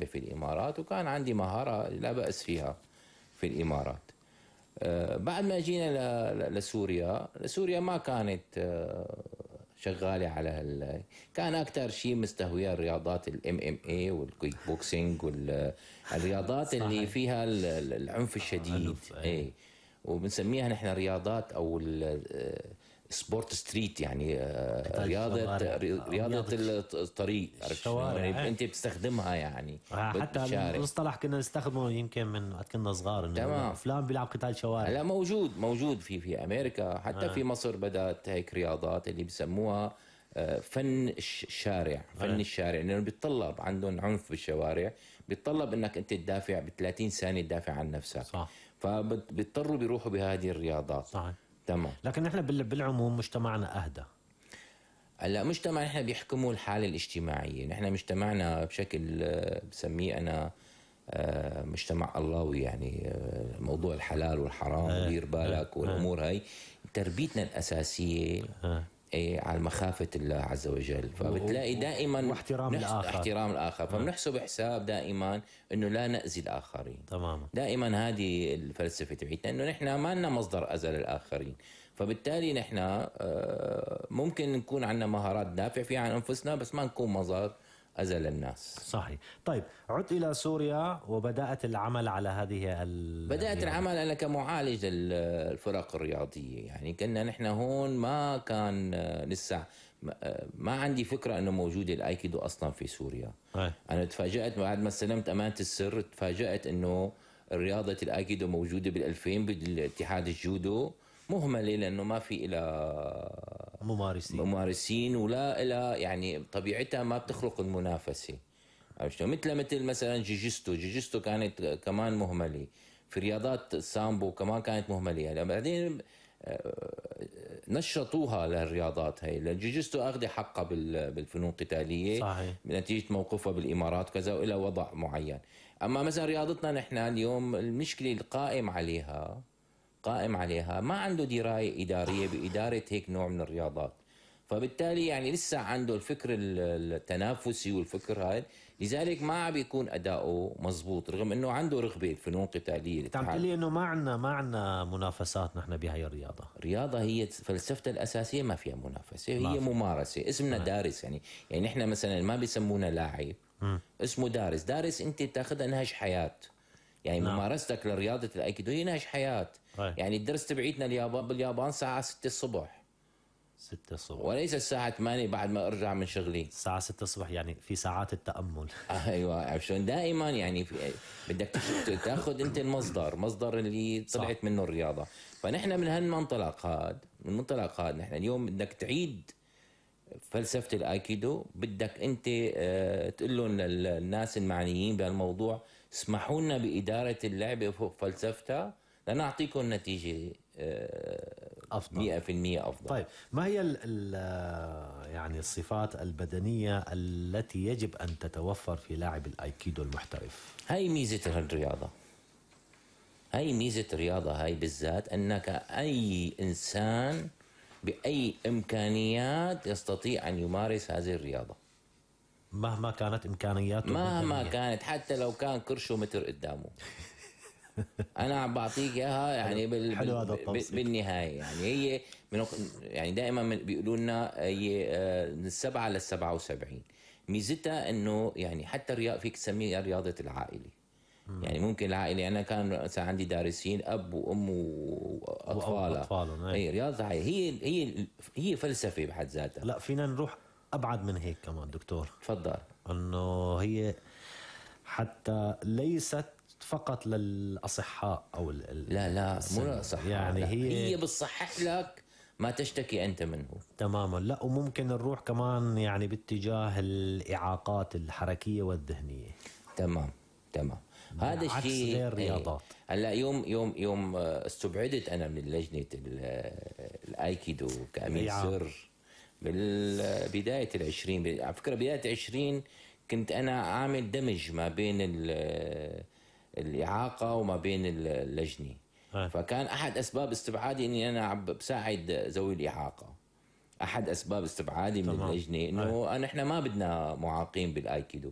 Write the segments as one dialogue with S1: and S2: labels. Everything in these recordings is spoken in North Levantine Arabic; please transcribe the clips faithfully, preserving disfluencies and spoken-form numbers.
S1: في الإمارات، وكان عندي مهارة لا بأس فيها في الإمارات. أه بعد ما جينا لسوريا، سوريا ما كانت أه شغالة على هال كان أكتر شيء مستهوية الرياضات الام ام اي والكيك بوكسينج والرياضات اللي فيها العنف الشديد، اي وبنسميها نحن رياضات او سبورت ستريت، يعني رياضة رياضة الطريق، يعني انت بتستخدمها يعني
S2: حتى المصطلح كنا نستخدمه يمكن من وقت كنا صغار،
S1: انه
S2: فلان بيلعب قتال شوارع.
S1: لا موجود موجود في في امريكا، حتى آه. في مصر بدأت هيك رياضات اللي بيسموها فن الشارع، فن آه. الشارع، لانه يعني بيتطلب عندهم عنف بالشوارع، بيتطلب انك انت تدافع ب ثلاثين ثانية تدافع عن نفسك، صح. فبيضطروا بيروحوا بهذه الرياضات، صحيح. تمام.
S2: لكن نحن بالعموم مجتمعنا أهدى.
S1: هلا مجتمع نحن بيحكموا الحالة الاجتماعية، نحن مجتمعنا بشكل بسميه أنا مجتمع اللهوي، يعني موضوع الحلال والحرام
S2: آه.
S1: ودير بالك آه. والأمور هاي تربيتنا الأساسية آه. إيه على مخافة الله عز وجل، فبتلاقي دائما
S2: واحترام الآخر
S1: احترام الآخر فبنحسب حساب دائما إنه لا نأذي الآخرين.
S2: تماما.
S1: دائما هذه الفلسفة تبعتنا، إنه نحن ما لنا مصدر أذى للآخرين، فبالتالي نحن ممكن نكون عندنا مهارات ندافع فيها عن أنفسنا، بس ما نكون مصدر أذى للناس.
S2: صحيح. طيب عدت إلى سوريا وبدأت العمل على هذه ال...
S1: بدأت العمل أنا كمعالج للفرق الرياضية، يعني كنا نحن هون ما كان لسه ما عندي فكرة أنه موجود الآيكيدو أصلا في سوريا. أي. أنا تفاجأت بعد ما استلمت أمانة السر، تفاجأت أنه رياضة الآيكيدو موجودة بالألفين بالاتحاد الجودو، مهملة لأنه ما في إلى
S2: ممارسين
S1: ممارسين ولا إلى يعني طبيعتها ما بتخلق المنافسة. مثل مثل مثلا جيجيستو جيجيستو كانت كمان مهملة، في رياضات السامبو كمان كانت مهملة. يعني بعدين نشطوها للرياضات هاي، الجيجيستو أخذ حقها بالفنون القتالية،
S2: صحيح.
S1: بنتيجة موقفها بالإمارات وكذا وإلى وضع معين. أما مثلا رياضتنا نحن اليوم المشكلة القائم عليها قائم عليها ما عنده دراية إدارية بإدارة هيك نوع من الرياضات، فبالتالي يعني لسه عنده الفكر التنافسي والفكر هاي، لذلك ما عم بيكون أداؤه مزبوط رغم أنه عنده رغبة فنون قتالية.
S2: تعم تقولي أنه ما عنا ما عنا منافسات نحن بهاي الرياضة.
S1: رياضة هي فلسفتها الأساسية ما فيها منافسة، هي
S2: في.
S1: ممارسة، اسمنا آه. دارس، يعني يعني نحن مثلا ما بيسمونا لاعب، اسمه دارس. دارس أنت تاخذها نهج حياة، يعني نعم. ممارستك لرياضة الأيكيدو هي نهج حياة. هي. يعني الدرس تبعيتنا اليابان باليابان ساعة ستة الصبح
S2: ستة الصبح
S1: وليس الساعة ثمانية بعد ما أرجع من شغلي.
S2: الساعة ستة الصبح يعني في ساعات التأمل.
S1: أيوة عشان دائما يعني في بدك تاخذ أنت المصدر مصدر اللي طلعت صح. منه الرياضة. فنحن من هالمنطلق هذا من منطلق هذا نحن اليوم بدك تعيد فلسفة الآيكيدو، بدك أنت اه تقول لهم للناس المعنيين بهالموضوع اسمحوا لنا بإدارة اللعبة فوق فلسفتها لنعطيكم نتيجة اه
S2: أفضل
S1: مئة بالمئة أفضل.
S2: طيب ما هي ال ال يعني الصفات البدنية التي يجب أن تتوفر في لاعب الآيكيدو المحترف؟
S1: هاي ميزة الرياضة، هاي ميزة الرياضة هاي بالذات، أنك أي إنسان بأي إمكانيات يستطيع أن يمارس هذه الرياضة
S2: مهما كانت إمكانياته،
S1: مهما كانت، حتى لو كان كرشه متر قدامه. أنا عم بعطيك إياها يعني بال... بال... بالنهاية يعني هي من... يعني دائما بيقولوا لنا هي من السبعة للسبعة وسبعين. ميزتها إنه يعني حتى الرياضة فيك تسميها رياضة العائلة. يعني ممكن العائلة أنا كان مثلا عندي دارسين أب وأم وأطفالها، هي رياضة هي هي هي فلسفة بحد ذاتها.
S2: لا فينا نروح أبعد من هيك كمان دكتور.
S1: تفضل.
S2: إنه هي حتى ليست فقط للأصحاء أو ال
S1: لا لا مو للأصحاء،
S2: يعني هي
S1: هي بتصحح لك ما تشتكي أنت منه
S2: تماما. لا وممكن نروح كمان يعني باتجاه الإعاقات الحركية والذهنية.
S1: تمام تمام. هذا الشيء
S2: غير الرياضات.
S1: هلا يوم يوم يوم استبعدت انا من لجنه الايكيدو كامين سر بالبدايه العشرين، على فكره بدايه العشرين كنت انا عامل دمج ما بين الاعاقه وما بين اللجنه. اه. فكان احد اسباب استبعادي اني انا عم بساعد ذوي الاعاقه، احد اسباب استبعادي من اللجنه انه اه. احنا ما بدنا معاقين بالايكيدو.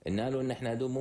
S1: قلنا له ان احنا هدول مو